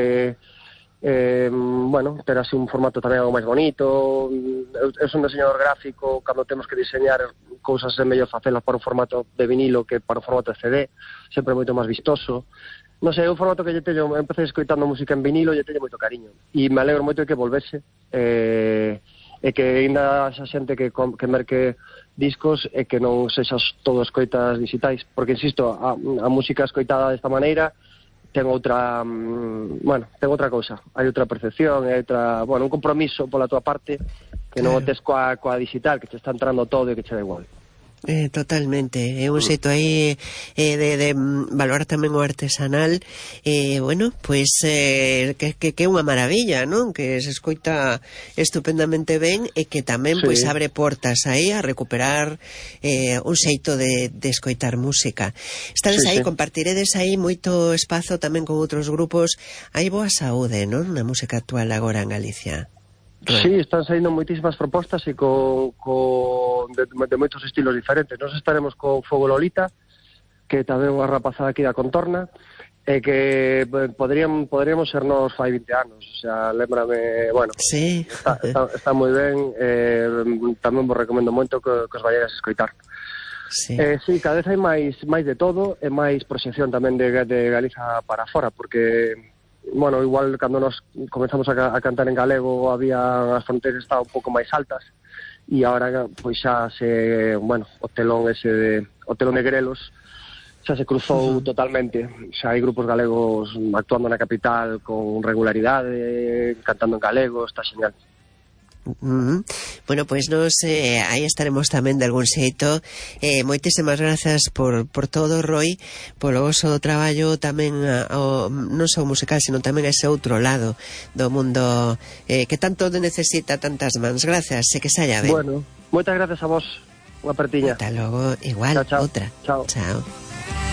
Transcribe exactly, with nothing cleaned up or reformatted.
eh, eh, bueno, ter así un formato tamén algo máis bonito. Eu, eu son diseñador gráfico, cando temos que diseñar cousas é mellor facelas para un formato de vinilo que para un formato de C D, sempre moito máis vistoso. Non sei, é un formato que lle teño, empecé escoitando música en vinilo e lle teño moito cariño, e me alegro moito de que volvese, eh, e que ainda xa xente que, que merque discos e que non sexas todo escoitas digitais, porque insisto, a, a música escoitada desta maneira ten outra, um, bueno, ten outra cousa, hai outra percepción, hai outra, bueno, un compromiso pola tua parte que non o tes coa, coa digital, que te está entrando todo e que che da igual. Eh, totalmente, é un xeito aí eh, de, de valorar tamén o artesanal, e eh, bueno, pois eh, que, que, que é unha maravilla, non? Que se escoita estupendamente ben e que tamén sí. Pois abre portas aí a recuperar eh, un xeito de, de escoitar música. Estades sí, aí, sí. Compartiredes aí moito espazo tamén con outros grupos. Hai boa saúde, non? Na música actual agora en Galicia. Sí, están saindo moitísimas propostas e co, co de, de moitos estilos diferentes. Nos estaremos co Fogo Lolita, que tamén unha rapazada aquí da contorna, e que podrían, podríamos sernos fai vinte anos. O sea, lembrame, bueno, sí. está, está, está moi ben, eh, tamén vos recomendo moito que, que os vayáis a escoitar. Sí. Eh, sí, cada vez hai máis, máis de todo, e máis proxección tamén de, de Galiza para fora, porque... bueno, igual cando nos comenzamos a, a cantar en galego había as fronteiras estaban un pouco máis altas e agora pois xa se, bueno, o telón ese de, o telón de Grelos xa se cruzou uh-huh. totalmente, xa hai grupos galegos actuando na capital con regularidade, cantando en galego, está genial. Uh-huh. Bueno, pois nos eh, aí estaremos tamén de algún xeito. eh, Moitísimas grazas por, por todo, Roi, polo vosso traballo tamén o, non só musical, sino tamén ese outro lado do mundo eh, que tanto necesita tantas mans. Grazas, e que saia ben. Bueno, moitas grazas a vos. Unha partiña. Ata logo, igual, chao, chao. outra. Chao. Chao.